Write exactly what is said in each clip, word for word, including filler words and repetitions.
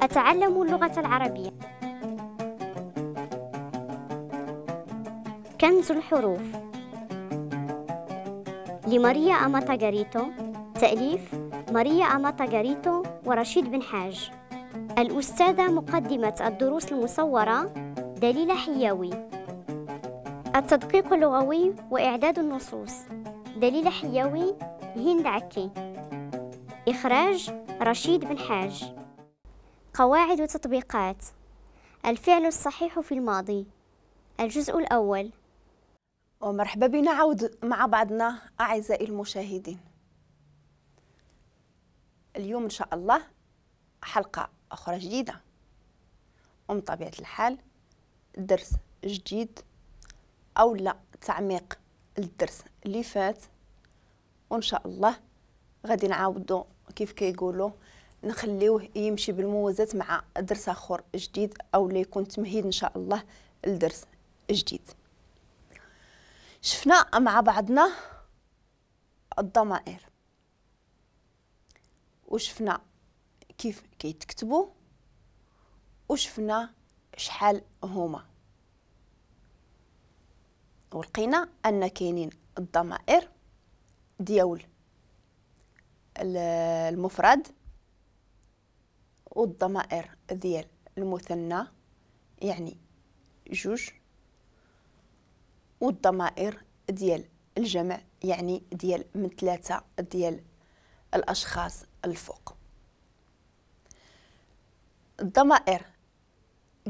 أتعلم اللغة العربية. كنز الحروف لماريا أماتا غاريتو، تأليف ماريا أماتا غاريتو ورشيد بن حاج. الأستاذة مقدمة الدروس المصورة دليلة حياوي. التدقيق اللغوي وإعداد النصوص دليلة حياوي، هند عكي. إخراج رشيد بن حاج. قواعد وتطبيقات الفعل الصحيح في الماضي، الجزء الأول. ومرحبا بنا عود مع بعضنا أعزائي المشاهدين. اليوم إن شاء الله حلقة أخرى جديدة، ومن طبيعة الحال درس جديد أو لا تعميق الدرس اللي فات، وإن شاء الله غادي نعاودو كيف كيقولوا نخليوه يمشي بالموازاة مع درس آخر جديد أو اللي يكون تمهيد إن شاء الله لدرس جديد. شفنا مع بعضنا الضمائر وشفنا كيف كيتكتبوا وشفنا شحال هما، ولقينا ان كاينين الضمائر ديال المفرد والضمائر ديال المثنى يعني جوج، والضمائر ديال الجمع يعني ديال من ثلاثة ديال الأشخاص الفوق. الضمائر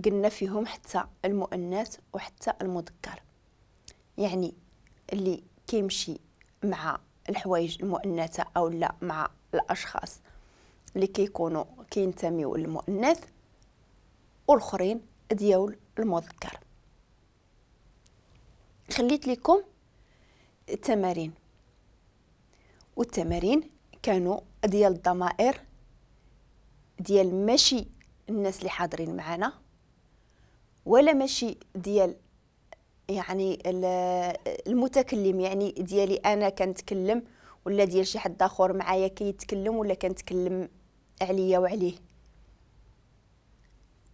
قلنا فيهم حتى المؤنث وحتى المذكر، يعني اللي كيمشي مع الحوايج المؤنثة أو لا مع الأشخاص اللي كيكونوا كينتميو للمؤنث، والآخرين ديال المذكر. خليت لكم التمارين، والتمارين كانوا ديال الضمائر ديال ماشي الناس اللي حاضرين معنا، ولا ماشي ديال يعني المتكلم، يعني ديالي انا كنتكلم ولا ديال شي حد اخر معايا كيتكلم ولا كنتكلم عليا وعليه،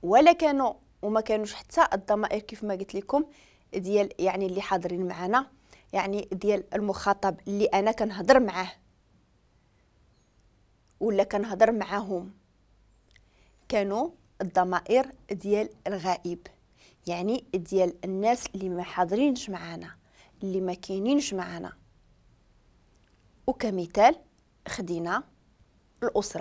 ولا كانوا وما كانوش حتى الضمائر كيف ما قلت لكم ديال يعني اللي حاضرين معنا، يعني ديال المخاطب اللي انا كنهضر معاه ولا كنهضر معاهم. كانوا الضمائر ديال الغائب، يعني ديال الناس اللي ما حاضرينش معانا، اللي ما كاينينش معانا. وكمثال خدينا الأسرة